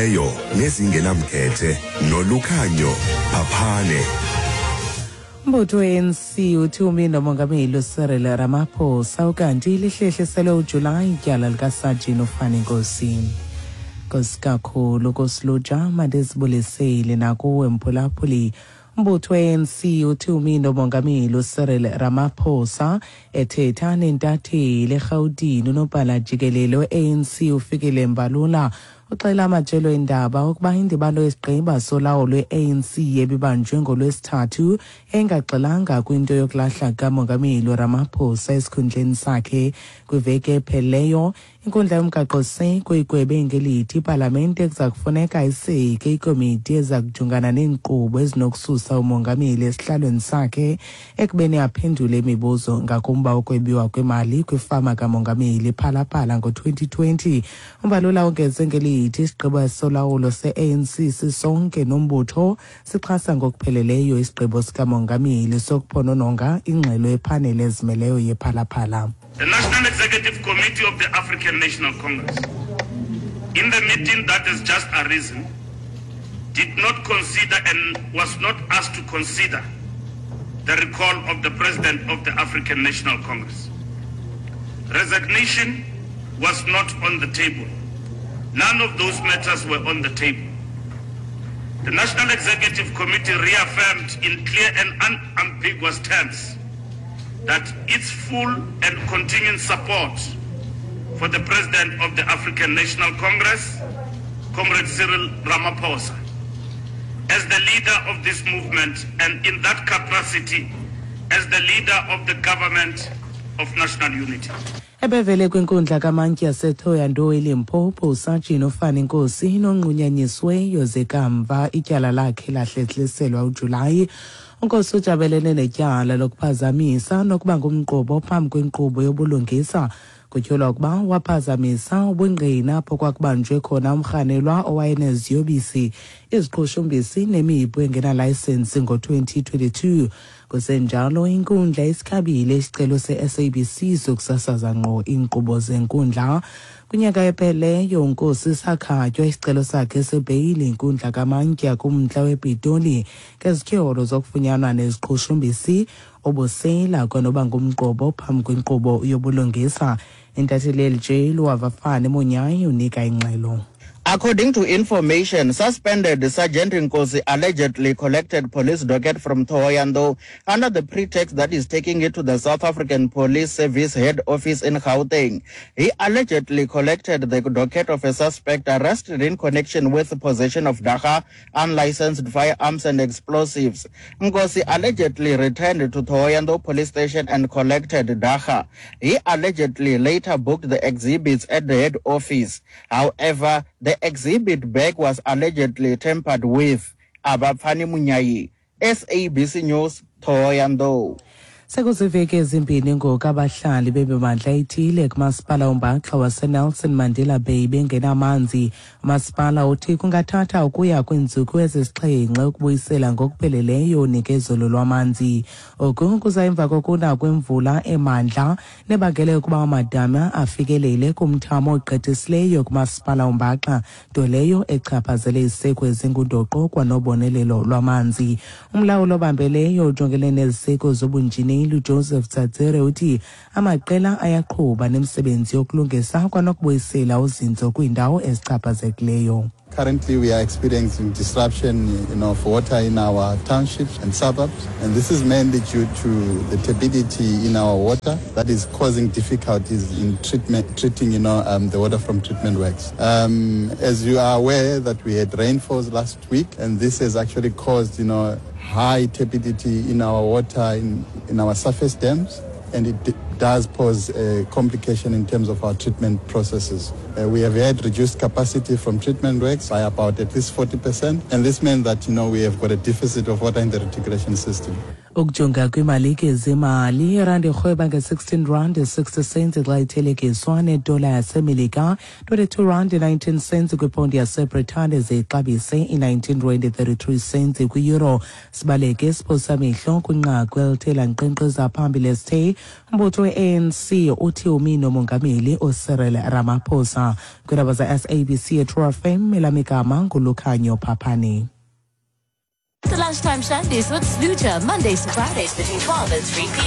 Eyo nezingenamkhethe nolukhanyo phaphane. Umbutho we-ANC uthi umi nomongameli uCyril Ramaphosa ukanti lihlehliselwe uJulayi ityala likasajini uFani Nkosi. Nkosi kakhulu kosilutsha mandizibulisele nakuwe mphulaphuli. Umbutho we-ANC uthi umi nomongameli uCyril Ramaphosa ethetha nentatheli eRhawutini unobhala jikelele we-ANC uFikile Mbalula uxela amajelo eendaba ukuba indibano yesigqiba solawulo lwe-ANC ebibanjwe ngoLwesithathu engagxilanga kwinto yokulahla kamongameli uRamaphosa esikhundleni sakhe. Kwiveki ephelileyo inkundla yomgaqoseko igwebe ngelithi ipalamente kuza kufuneka iseke ikomiti eza kujongana neenkqubo ezinokususa umongameli esihlalweni sakhe ekubeni aphendule imibuzo ngakumba wokwebiwa kwemali kwifama kamongameli Phalaphala ngo-2020. Umbalula ongeze ngelithi isigqibo solawulo se-ANC sisonke nombutho sixhasa ngokupheleleyo isigqibo sikamongameli sokuphonononga ingxelo yephaneli ezimeleyo yePhalaphala. The National Executive Committee of the African National Congress, in the meeting that has just arisen, did not consider and was not asked to consider the recall of the President of the African National Congress. Resignation was not on the table. None of those matters were on the table. The National Executive Committee reaffirmed in clear and unambiguous terms that its full and continuing support for the President of the African National Congress, Comrade Cyril Ramaphosa, as the leader of this movement and in that capacity as the leader of the government of national unity. Ebevele kwinkundla kamantyi yaseThohoyandou eLimpopo usajini uFani Nkosi nonqunyanyisweyo ze kamva ityala lakhe lahlehliselwa uJulayi. UNkosi ujabelene netyala lokuphazamisa nokuba ngumqobo phambi kwenkqubo yobulungisa. Kutyholwa ukuba waphazamisa ubungqina apho kwakubanjwe khona umrhanelwa owayeneziyobisi, iziqhushumbisi nemipu engenalayisensi ngo-2022. Kusenjalo, inkundla isikhabile isicelo se-SABC sokusasaza ngqo iinkqubo zenkundla. Kwinyaka epheleyo uNkosi sakhatywa isicelo sakhe sebheyili inkundla kamantya kumntla wePitoli ngezityholo zokufunyanwa neziqhushumbisi, ubusela kwanoba ngumqobo phambi kwenkqubo yobulungisa. Intatheli LJ Luavafane Monyayi unika ingxelo. According to information, suspended Sergeant Nkosi allegedly collected police docket from Thohoyandou under the pretext that he's taking it to the South African Police Service head office in Gauteng. He allegedly collected the docket of a suspect arrested in connection with possession of dagga, unlicensed firearms and explosives. Nkosi allegedly returned to Thohoyandou police station and collected dagga. He allegedly later booked the exhibits at the head office. However, the exhibit bag was allegedly tampered with. Abafani Munyayi, SABC News, Thohoyandou. Sekuziveki ezimbini ngoku abahlali bemimandla ethile kumasipala ombaxa waseNelson Mandela Bay bengenamanzi. Umasipala uthi kungathatha ukuya kwiintsuku ezisixhenxe ukubuyisela ngokupheleleyo unikezelo lwamanzi. Oku kuza emva kokuna kwemvula emandla nebangele ukuba amadama afikelele kumthamo ogqithisileyo kumasipala ombaxa, nto leyo echaphazele iziseko ezingundoqo kwanobonelelo lwamanzi. Umlawuli obambeleyo ujongene neziseko zobunjineli uJoseph Tsatsere uthi amaqela ayaqhuba nemisebenzi yokulungisa kwanokubuyisela uzinzo kwiindawo ezichaphazekileyo. Currently, we are experiencing disruption of water in our townships and suburbs, and this is mainly due to the turbidity in our water that is causing difficulties in treating the water from treatment works. As you are aware that we had rainfalls last week, and this has actually caused high turbidity in our water in our surface dams, and it does pose a complication in terms of our treatment processes. We have had reduced capacity from treatment works by about at least 40%, and this meant that we have got a deficit of water in the reticulation system. Ukujonga kwiimalike zemali, irandi irhweba nge-16 rand 60 cents xa ithelekiswa nedola yaseMelika, 22 rand 19 cents kwiponti yaseBritane, ze ixabise i-19 rand 33 cents kwi-euro. Sibaleke isiphosamehlo kwinqaku elithe lankqenkqeza phambili esithe umbutho we-ANC uthi umi nomongameli uCyril Ramaphosa. ngokukhawuleza. Kwiindaba ze-SABC eTrue FM, elam igama nguLukhanyo Phaphane. The Lunchtime Shandies with Sluja, Mondays to Fridays between 12 and 3 p.m.